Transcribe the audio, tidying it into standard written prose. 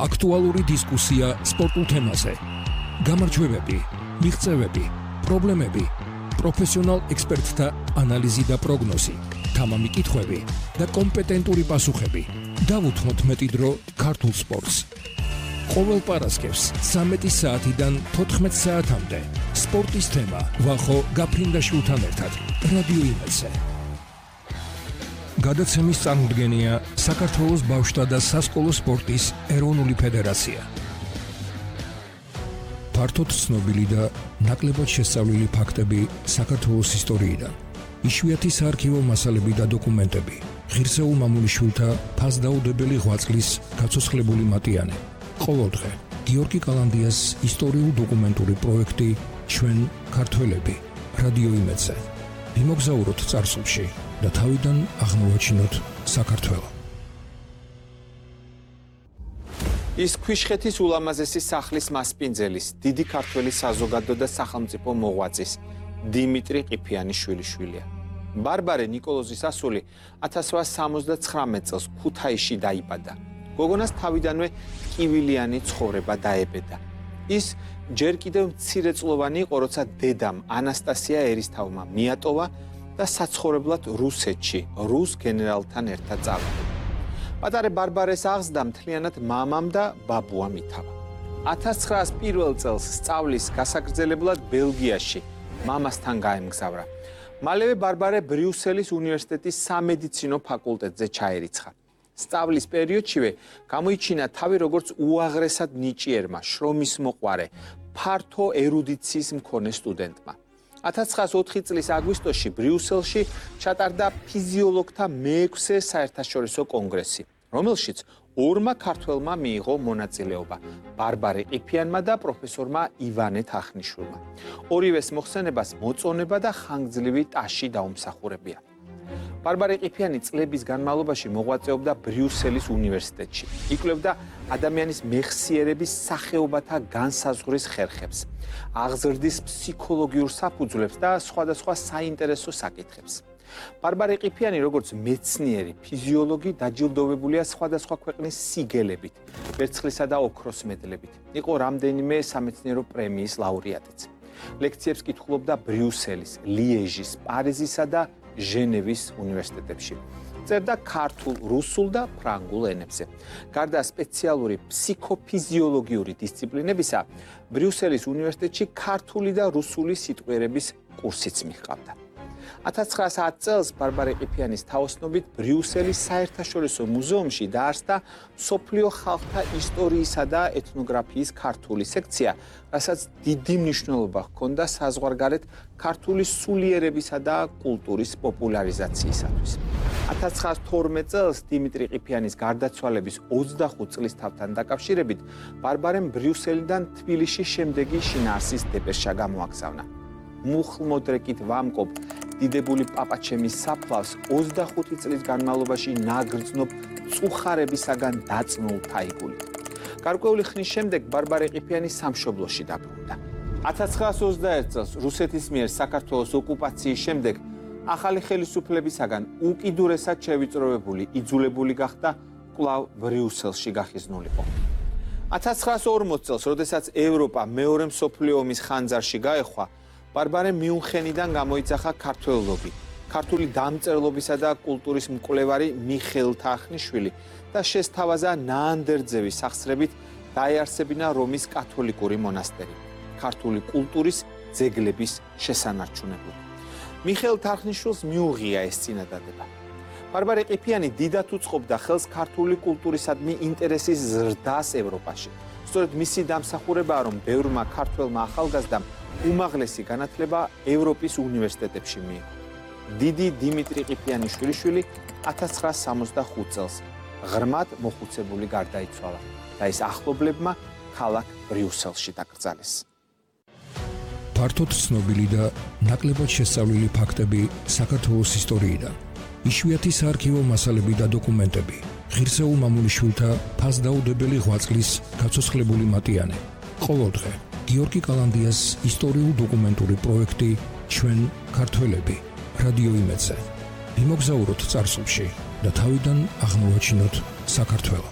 აქტუალური დისკუსია სპორტულ თემაზე. გამარჯვებები, მიღწევები, პრობლემები, პროფესიონალ ექსპერტთა ანალიზი და პროგნოზი, თამამი კითხვები და კომპეტენტური პასუხები. დავუთმოთ მეტი დრო ქართულ სპორტს. ყოველ პარასკევს 13 საათიდან 14 საათამდე სპორტის თემა ვახო გაფრინდაშვილთან ერთად რადიო იმედზე. გადაცემის წარმოდგენია საქართველოს ბავშვთა და სასკოლო სპორტის ეროვნული ფედერაცია. ფართოდ ცნობილი და ნაკლებად შესწავლილი ფაქტები საქართველოს ისტორიიდან. იშვიათი საარქივო მასალები და დოკუმენტები. ღირსეულ მამულიშვილთა ფასდაუდებელი ღვაწლის გაცოცხლებული მატიანე. ყოველდღე გიორგი კალანდიას ისტორიულ-დოკუმენტური პროექტი ჩვენ ქართველები რადიო იმედზე. ვიმოგზაუროთ წარსულში და თავიდან აღმოვაჩინოთ საქართველო. ის ქვიშხეთის ულამაზესი სახლის მასპინძელის, დიდი ქართველი საზოგადო და სახელმწიფო მოღვაწის დიმიტრი ყიფიანის შვილიშვილია. ბარბარე ნიკოლოზის ასული 1879 წელს ქუთაისში დაიბადა. გოგონას თავიდანვე ტკივილიანი ცხოვრება დაებედა. ის ჯერ კიდევ მცირეწლოვანი იყო, როცა დედამ ანასტასია ერისთავმა მიატოვა და საცხოვრებლად რუსეთში, რუს გენერალთან ერთად წავიდა. პატარა ბარბარეს აღზრდა მთლიანად მამამ და ბაბუამ ითავა. 1901 წელს სწავლის გასაგრძელებლად ბელგიაში მამასთან გაემგზავრა. მალევე ბარბარე ბრიუსელის უნივერსიტეტის სამედიცინო ფაკულტეტზე ჩაერიცხა. სწავლის პერიოდშივე გამოიჩინა თავი როგორც უაღრესად ნიჭიერმა, შრომის მოყვარე, ფართო ერუდიციის მქონე სტუდენტმა. 1904 წლის აგვისტოში ბრიუსელში ჩატარდა ფიზიოლოგთა მე-6 საერთაშორისო კონგრესი, რომელშიც ორმა ქართველმა მიიღო მონაწილეობა, ბარბარე ყიფიანმა და პროფესორმა ივანე თახნიშვილმა. ორივეს მოხსენებას მოწონება და ხანგრძლივი ტაში დაუმსახურებია. ბარბარე ყიფიანი წლების განმავლობაში მოღვაწეობდა ბრიუსელის უნივერსიტეტში. იკვლევდა ადამიანის მეხსიერების სახეობათა განსაზღვრის ხერხებს, აღზრდის ფსიქოლოგიურ საფუძვლებს და სხვადასხვა საინტერესო საკითხებს. ბარბარე ყიფიანი როგორც მეცნიერი, ფიზიოლოგი დაჯილდოვებულია სხვადასხვა ქვეყნის სიგელებით, ვერცხლისა და ოქროს მედლებით. იყო რამდენიმე სამეცნიერო პრემიის ლაურეატიც. ლექციებს კითხულობდა ბრიუსელის, ლიეჟის, პარიზისა და ჟენევის უნივერსიტეტებში. წერდა ქართულ, რუსულ და ფრანგულ ენებზე. გარდა სპეციალური ფსიქოფიზიოლოგიური დისციპლინებისა, ბრიუსელის უნივერსიტეტში ქართული და რუსული სიტყვიერების კურსიც მიჰყავდა. 1910 წელს ბარბარე ყიფიანის თაოსნობით ბრიუსელის საერთაშორისო მუზეუმში დაარსდა მსოფლიო ხალხთა ისტორიისა და ეთნოგრაფიის ქართული სექცია, რასაც დიდი მნიშვნელობა ჰქონდა საზღვარგარეთ ქართული სულიერებისა და კულტურის პოპულარიზაციისათვის. 1912 წელს დიმიტრი ყიფიანის გარდაცვალების 25 წლის თავთან დაკავშირებით ბარბარემ ბრიუსელიდან თბილისში შემდეგი შინაარსის დეპეშა გამოაგზავნა. მუხლმოდრეკით ვამკობ დიდებული პაპაჩემის საფლავს 25 წლის განმავლობაში ნაგრძნობ წუხარებისაგან დაწნულ თაიგული. გარკვეული ხნის შემდეგ ბარბარე ყიფიანი სამშობლოში დაბრუნდა. 1921 წელს რუსეთის მიერ საქართველოს ოკუპაციის შემდეგ ახალი ხელისუფლებისაგან უკიდურესად შევიწროებული, იძულებული გახდა კვლავ ბრიუსელში გახიზნულიყო. 1940 წელს, როდესაც ევროპა მეორე მსოფლიო ომის ხანძარში გაეხვა, ბარბარემ მიუნხენიდან გამოიძახა ქართველობი, ქართული დამწერლობისა და კულტურის მკვლევარი მიხეილ თახნიშვილი და შესთავაზა ნაანდერძევის სახსრებით დაეარსებინა რომის კათოლიკური მონასტერი, ქართული კულტურის ძეგლების შესანარჩუნებლად. მიხეილ თახნიშვილს მიუღია ეს წინადადება. ბარბარე ყიფიანი დიდად უწყობდა ხელს ქართული კულტურისადმი ინტერესის ზრდას ევროპაში. სწორედ მისი დამსახურებაა, რომ ბევრმა ქართველმა ახალგაზრდამ უმაღლესი განათლება ევროპის უნივერსიტეტებში მიიღო. დიდი დიმიტრი ყიფიანის შვილიშვილი 1965 წელს ღრმად მოხუცებული გარდაიცვალა და ის ახლობლებმა ქალაქ ბრიუსელში დაკრძალეს. ფართოდ ცნობილი და ნაკლებად შესწავლილი ფაქტები საქართველოს ისტორიიდან. იშვიათი საარქივო მასალები და დოკუმენტები. ღირსეულ მამულიშვილთა ფასდაუდებელი ღვაწლის გაცოცხლებული მატიანე. ყოველდღე გიორგი კალანდიას ისტორიულ-დოკუმენტური პროექტი ჩვენ ქართველები რადიო იმედზე. ვიმოგზაუროთ წარსულში და თავიდან აღმოვაჩინოთ საქართველო.